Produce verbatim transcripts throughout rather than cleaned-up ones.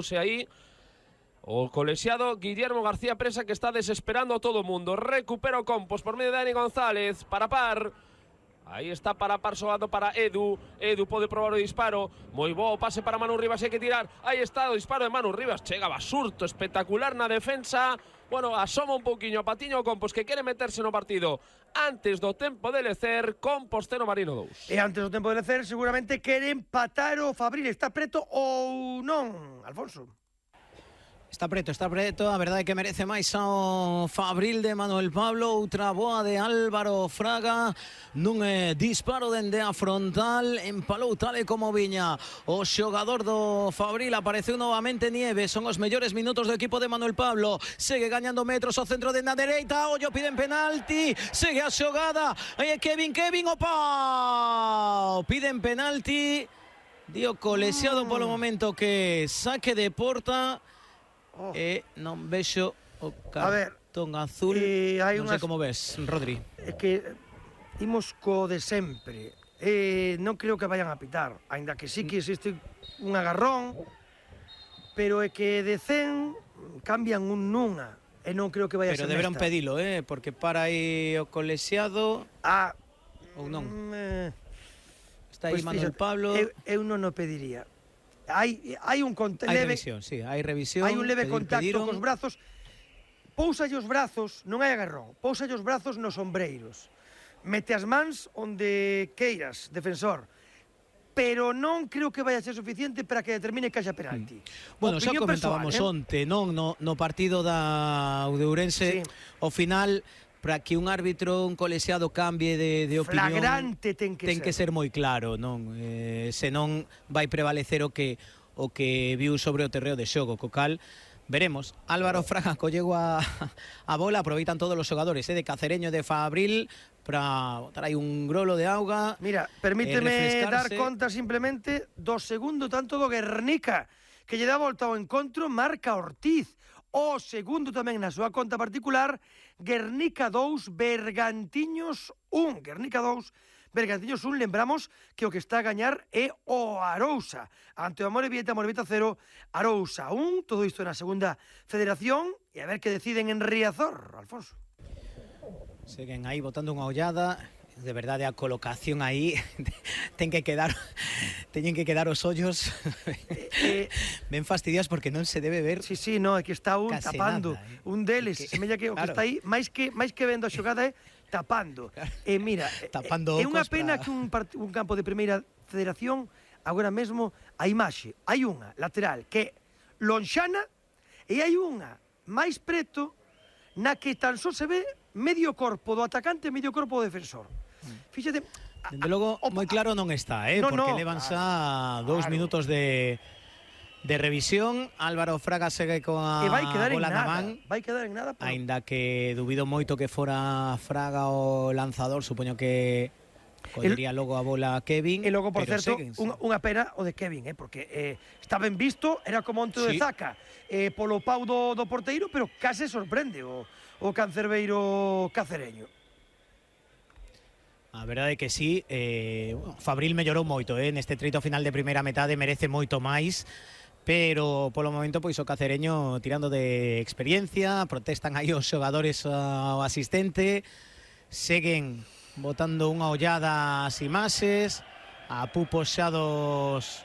Quedouse aí o colexiado Guillermo García Presa, que está desesperando a todo o mundo. Recupera o Compos por medio de Dani González para par. Aí está para par soado para Edu. Edu pode probar o disparo. Moi bo o pase para Manu Rivas, hai que tirar. Aí está o disparo de Manu Rivas. Chega Basurto, espectacular na defensa. Bueno, asoma un pouquiño a patiño o Compos, que quere meterse no partido antes do tempo de lecer. Composteno Marino dous. E antes do tempo de lecer seguramente quere empatar o Fabril. Está preto ou non, Alfonso? Está preto, está preto, a verdade é que merece máis ao Fabril de Manuel Pablo. Outra boa de Álvaro Fraga nun eh, disparo dende a frontal, empalou tal e como viña o xogador do Fabril. Apareceu novamente Nieves, son os mellores minutos do equipo de Manuel Pablo. Segue gañando metros ao centro de na dereita, ollo, piden penalti, segue a xogada, aí é Kevin, Kevin, opa, piden penalti, dio colexiado polo momento que saque de porta. Oh. E non vexo o cartón azul. Eh, non sei como ves, Rodri. É que imos co de sempre. Eh, non creo que vayan a pitar, aínda que sí que existe un agarrón, pero é que de cen cambian un nunha. E non creo que vaya pero a ser deberán nesta. pedilo, eh, porque para aí o colexiado. Ah, ou non. Eh, Está aí pues Manuel fíjate, Pablo. Eu, eu non o pediría. Hai, hai un cont- hai leve, revisión, sí, hai revisión. hai un leve pedir, contacto pediron. cos brazos. Pousalle os brazos, non hai agarrón. Pousalle os brazos nos ombreiros. Mete as mans onde queiras, defensor. Pero non creo que vaya a ser suficiente para que determine que haxa penalti. Mm. Bueno, xa Opinión comentábamos persoal, eh? onte, non, no, no partido da Udeurense, Sí. ao final, para que un árbitro, un colexiado cambie de, de opinión, Flagrante ten que ten ser. que ser moi claro, non? Eh, senón vai prevalecer o que o que viu sobre o terreo de xogo, co cal veremos. Álvaro Fraga collego a, a bola, aproveitan todos os xogadores, eh, de Cacereño e de Fabril para botar aí un grolo de auga. Mira, permíteme eh, dar conta simplemente do segundo tanto do Guernica, que lle dá volta ao encontro, marca Ortiz. O segundo tamén na súa conta particular, Guernica dous, Bergantiños un. Guernica dous, Bergantiños un. Lembramos que o que está a gañar é o Arousa. Ante o Amorebieta, Amorebieta cero, Arousa un. Todo isto na segunda federación. E a ver que deciden en Riazor, Alfonso. Seguen aí botando unha ollada. De verdade, a colocación aí ten que quedar teñen que quedar os ollos eh, ben fastidiados, porque non se debe ver. Sí, sí, no, é que está un tapando nada, eh. un deles, que, semella que o claro. que está aí, máis que máis que vendo a xogada é tapando. Claro. E eh, mira, tapando é unha pena para... que un, un campo de primeira federación agora mesmo a imaxe, hai unha lateral que é lonxana e hai unha máis preto na que tan só se ve medio corpo do atacante e medio corpo do defensor. Fíxate, dende logo moi claro non está, eh, no, porque no, levan claro, xa dous claro. minutos de de revisión. Álvaro Fraga segue coa e vai quedar en bola na nada, man, vai quedar en nada. Pero... aínda que dubido moito que fora Fraga o lanzador, supoño que collería logo a bola a Kevin. E logo, por pero certo, seguen, unha, unha pena o de Kevin, eh, porque eh, está ben visto, era como onto sí. de Zaca, eh, polo pau do, do porteiro, pero case sorprende o, o cancerbeiro cacereño. A verdade é que sí, eh, Fabril mellorou moito, eh, neste treito final de primeira metade, merece moito máis, pero polo momento pois o cacereño tirando de experiencia, protestan aí os xogadores ao asistente, seguen botando unha ollada ás imaxes, a pupos xa dos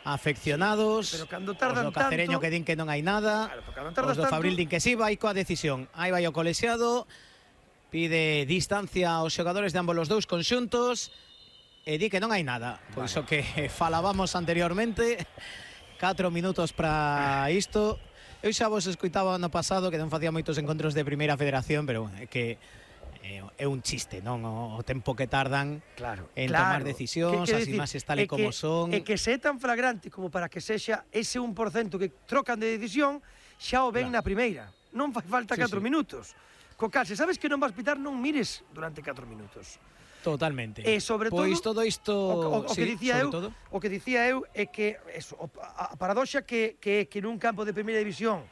afeccionados, pero cando tardan os do cacereño tanto... que din que non hai nada, claro, cando os do Fabril tanto... din que sí, vai coa decisión, aí vai o colexiado, pide distancia aos xogadores de ambos os dous conxuntos e di que non hai nada. Pois o que falábamos anteriormente, catro minutos para isto. Eu xa vos escoitaba ano pasado que non facía moitos encontros de primeira federación, pero bueno, é que é un chiste, non? O tempo que tardan claro, en claro. tomar decisións, as imaxes tal e como son. É que se é tan flagrante como para que sexa ese un por cento que trocan de decisión, xa o ven claro. na primeira. Non fai falta sí, catro sí. minutos. Co cal, se sabes que non vas pitar, non mires durante catro minutos. Totalmente. E sobre todo, pois todo isto, o, o, o sí, que dicía eu, todo. o que dicía eu é que eso, a, a paradoxa que que que nun campo de primeira división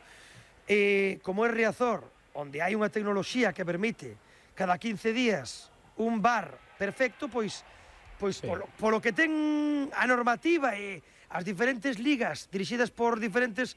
eh, como é Riazor, onde hai unha tecnoloxía que permite cada quince días un V A R perfecto, pois pois sí. polo, polo que ten a normativa e as diferentes ligas dirixidas por diferentes